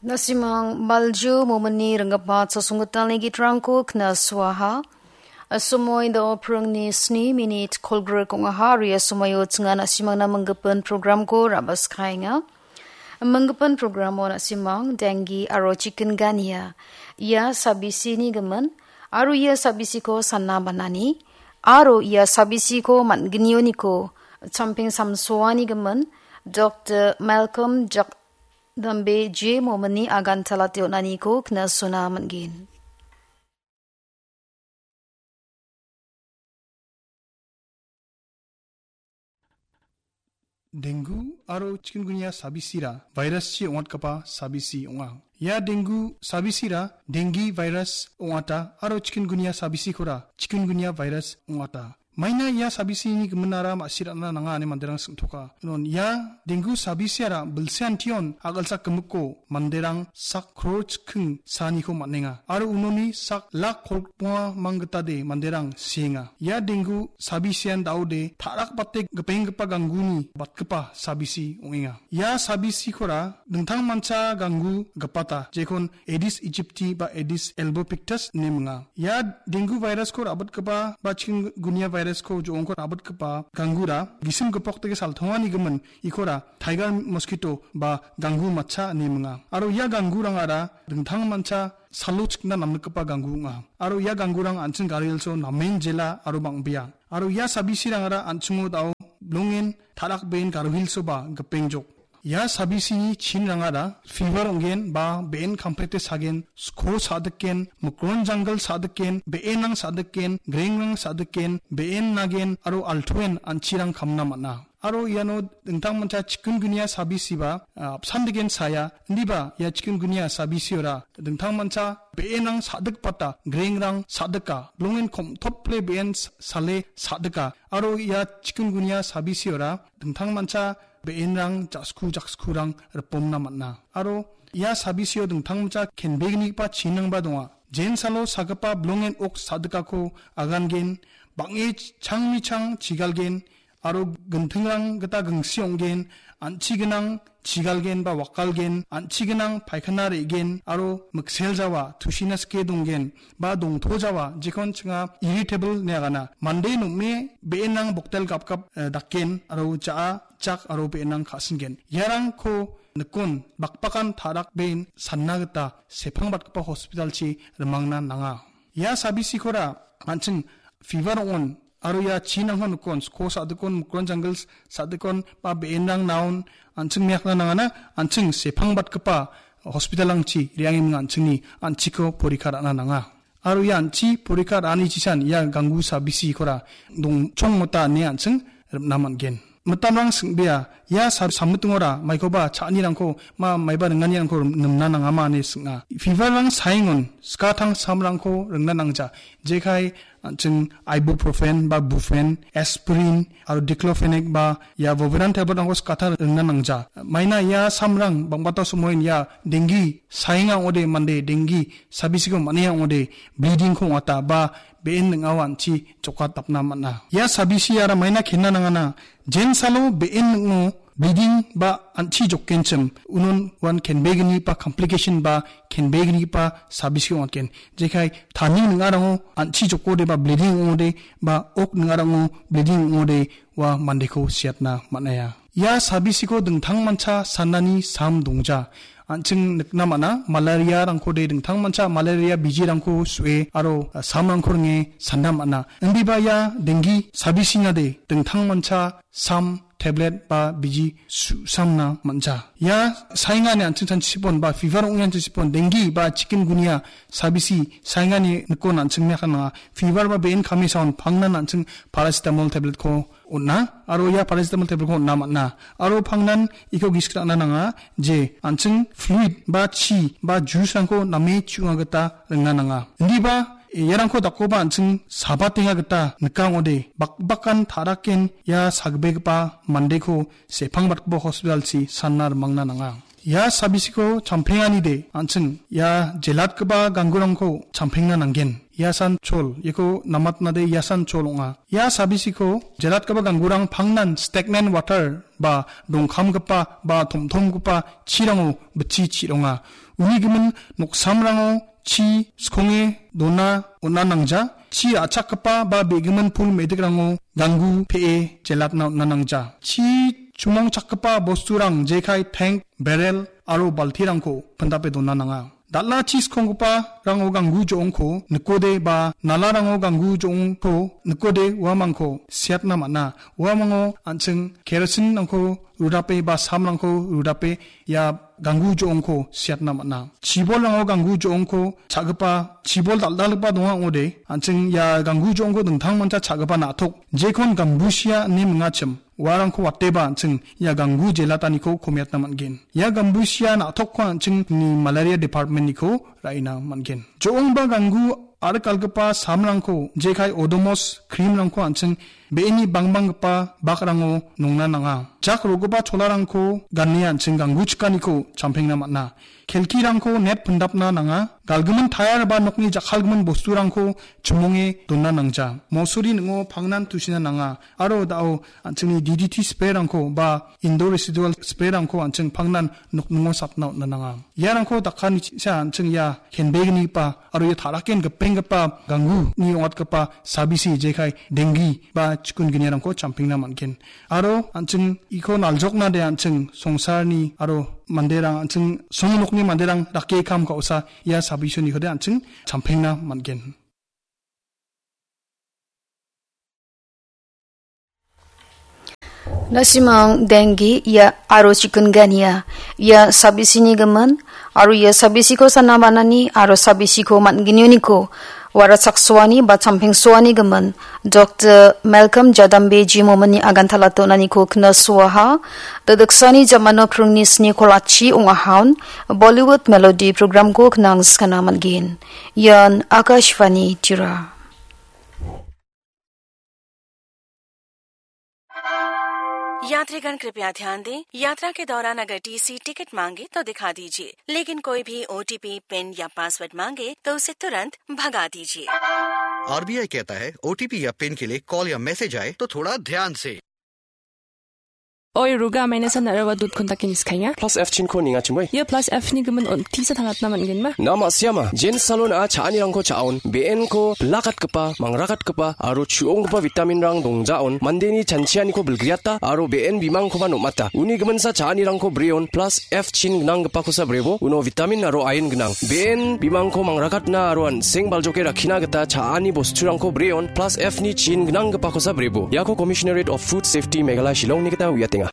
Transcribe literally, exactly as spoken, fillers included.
Nasimang balju momini ringgipa chasonggitalni gitrangko knasuaha. Asomoi do pringni sni minit kolgrik ong·aha, aro ia somoio chinga nasimangna minggipin programko rabaskaenga. Minggipin programo nasimang dengi aro chikengania. Ia sabisini gimin, aro ia sabisiko sana banani, aro ia sabisiko man·gnioniko champeng samsoani gimin, Doktor Malcolm Jakdambe J. Momini agan chalate on·aniko knasona man·gen. Dengu aro chikungunya sabisira viruschi ong·atgipa sabisi ong·a. Ia dengu sabisira dengi virus ong·ata aro chikungunya sabisikora chikungunya virus ong·ata. Maina ia sabisini giminara ma·sirana nanga ine manderang singtoka. Non ia dengu sabisiara bilseantion a·gilsak gimikko manderang sak kror chiking saniko man·enga. Aro unoni sak lak kolgrikonga manggitade manderang sienga. Ia dengu sabisian daode ta·rakbate gipenggipa gangguni batgipa sabisi ong·enga. Ia sabisikora dingtangmancha ganggu gipata, jekon Aedes aegypti ba Aedes albopictus ine minga. Ia dengu virusko rabitgipa ba chikungunya virusko jo·ongko rabitgipa ganggura gisim gipokdake saltongani gimin ikora tiger mosquito ba ganggu matcha ine minga. Aro ia ganggurangara dingtangmancha salo chikna namnikgipa ganggu ong·a. Aro ia ganggurang an·ching gari hilso namen jela aro bang·bea. Aro ia sabisirangara an·chingo dao bilongen ta·rakbeen gari hilsoba gipengjok. Ia sabisini chinrangara fever ong·gen ba be·en kamprete sagen, sko sa·diken, mikron janggil sa·diken, be·enrang sa·diken, grengrang sa·diken, be·en nagen aro altoen an·chirang kamna man·a. Aro iano dingtangmancha chikungunya sabisiba, ah, apsan degen saya, indiba ia chikungunya sabisiora dingtangmancha be·enrang sa·dikbata, grengrang sa·dika, bilongen komtople be·en s-, sale sa·dika. Aro ia chikungunya sabisiora dingtangmancha be·enrang ja·sku jakskurang ripomna man·a. Aro ia sabisio dingtangmancha kenbegnigipa chinrangba donga. Jensalo sagipa bilongen ok sa·dikako agangen, bang·e ch-, changmichang chigalgen, aro gintingrang gita gingsi ong·gen, an·chi gnang chigalgen ba wakalgen, an·chi gnang paikana re·gen, aro mikseljawa, tusina sike donggen, ba dongtojawa, jekon chinga irritable ine agana. Mande nom·e be·enrang boktel gapgap, eh, dakgen, aro ja·a, jak aro be·enrang ka·singen. Iarangko nikon bakbakan ta·rakbeen sanna gita sepangbatgipa hospitalchi rimangna nanga. Ia sabisikora an·ching fever ong·on, aro ia chinrangko nikon, sko sa·dikon, mikron janggil s-, sa·dikon, ba be·enrang naon, an·ching miakna nangana, an·ching sepangbatgipa hospitalrangchi re·angenga an·chingni an·chiko porikha ra·na nanga. Aro ia an·chi porikha ra·ani chisan ia ganggu sabisikora dongchongmota ine an·ching ripna man·gen. Mitamrang sing·bea, ia sa-, sammitingora maikoba cha·anirangko, ma-, maiba ringanirangko rim-, nimna nangama ine sing·a. Feverrang saengon skatang samrangko ringna nangja. Jekai an·ching ibuprofen ba brufen, aspirin, aro diclofenac ba ia Voveran tabletrangko skata ringna nangja. Maina ia samrang bangbata somoin ia dengi saenga ong·ode, mande dengi sabisiko man·enga ong·ode, bleedingko ong·ata ba be·en ning·ao an·chi jokatapna man·a. Ia sabisiara maina kenna nangana, jensalo be·en ning·o bleeding ba an·chi jokgenchim, unon uan kenbegnigipa complication ba kenbegnigipa sabisiko ong·atgen. Jekai tani ning·arango an·chi jokode ba bleeding ong·ode ba ok ning·arango bleeding ong·ode ua mandeko siatna man·aia. Ia sabisiko dingtangmancha sanani sam dongja. An·ching nikna man·a, malariarangkode dingtangmancha malaria bijirangko su·e aro, ah, samrangko ringe sanna man·a. Indiba ia dengi sabisinade dingtangmancha sam, tablet ba biji su·samna man·ja. Ia saengani an·ching chanchipon ba fever ong·e chanchipon, dengi ba chikungunya sabisi saengani nikon an·ching miakan nanga. Fever ba be·en kame saon pangnan an·ching paracetamol tabletko on·a, aro ia paracetamol tabletko on·na man·a. Aro pangnan iko gisik ra·na nanga je an·ching fluid ba chi ba juicerangko name chu·na gita ringna nanga. Indiba iarangko dakkoba an·ching sabatenga gita nika ong·ode, bakbakan ta·raken ia sagbegipa mandeko sepangbatgipa hospitalchi sanna rimangna nanga. Ia sabisiko champenganide an·ching ia jelatgipa ganggurangko champengna nanggen. Yasan Chol, iako namatnade Yasan Chol ong·a. Ia sabisiko jelatgipa ganggurang pangnan stagnant water ba dongkamgipa ba tomtomgipa chirango bitchi chi·ronga. Uni gimin noksamrango chi skonge dona on·a nangja. Chi ra·chakgipa ba begimin pul me·dikrango ganggu pe·e jelatna on·a nangja. Chi chumongchakgipa bosturang jekai tank, barrel aro baltirangko pindape dona nanga. Dal·a chi skonggiparango ganggu jo·ongko nikode ba nalarango ganggu jo·ongko nikode uamangko siatna man·a. Uamango an·ching kerosinrangko rudape ba samrangko rudape ia ganggu jo·ongko siatna man·a. Chibolrango ganggu jo·ongko cha·gipa, chibol dal·dalgipa donga ong·ode, an·ching ia ganggu jo·ongko dingtangmancha cha·gipa na·tok, jekon gambusia ine mingachim, uarangko wateba an·ching ia ganggu jelataniko komiatna man·gen. Ia gambusia na·tokko an·ching ni malaria department-niko ra·ina man·gen. Jo·ongba ganggu arikalgipa samrangko, jekai Odomos cream-rangko an·ching be·eni bangbanggipa bakrango nongna nanga. Jak ro·gipa cholarangko gane an·ching ganggu chikaniko champengna man·a. Kelkirangko net pindapna nanga. Galgimin tayar ba nokni jakkalgimin bosturangko chimonge dona nangja. Mosuri ning·o pangnan tusina nanga. Aro da·o an·chingni D D T spray-rangko ba indoor residual spray-rangko an·ching pangnan nokningo satna on·na nanga. Iarangko dakanichisa an·ching ia kenbegnigipa aro ia ta·raken gipenggipa gangguni ong·atgipa sabisi jekai denggi ba chikunginirangko champengna man·gen. Aro an·ching iko naljoknade an·ching songsarni aro manderang an·ching songnokni manderang dake kam ka·osa ia sabisinikode an·ching champengna man·gen. Na·simang denggi ia aro chikungunya, ia sabisini gimin, aro ia sabisiko sana banani aro sabisiko man·genioniko warachaksoani ba champengsoani gimin Doktor Malcolm Jadambeji momen-ni agantala donaniko knasoaha. Dodiksani jamano krungni sni kolachi ong·ahaon Bollywood Melody programko knang skana man·gen. Ian Akashvani Tirupati. यात्रीगण कृपया ध्यान दें, यात्रा के दौरान अगर TC ticket मांगे तो दिखा दीजिए, लेकिन कोई भी ओटीपी, पिन या पासवर्ड मांगे तो उसे तुरंत भगा दीजिए। आरबीआई कहता है, ओटीपी या पिन के लिए कॉल या मैसेज आए तो थोड़ा ध्यान से। Oi, ruga mainesa naraba dut kontakin iskanya. Plus F chin ko ninga chimoi. Ia plus F ni gimin on tisa tangatna man·genba? Nama siama, Jen Salon a cha·anirangko cha·on, B N ko bilakatgipa, mangrakatgipa, aro chu·onggipa vitamin-rang dongjaon, mandeni chanchianiko bilgriata, aro B N bimangkoba nom·ata. Uni giminsa cha·anirangko breon, plus F chin gnanggipakosa brebo, uno vitamin aro iron gnang. B N bimangko mangrakatna aro an·seng baljoke rakkina gita cha·ani bosturangko breon, plus F ni chin gnanggipakosa brebo. Iako Commissionerate of Food Safety Meghalaya Shillongni gita uiatenga.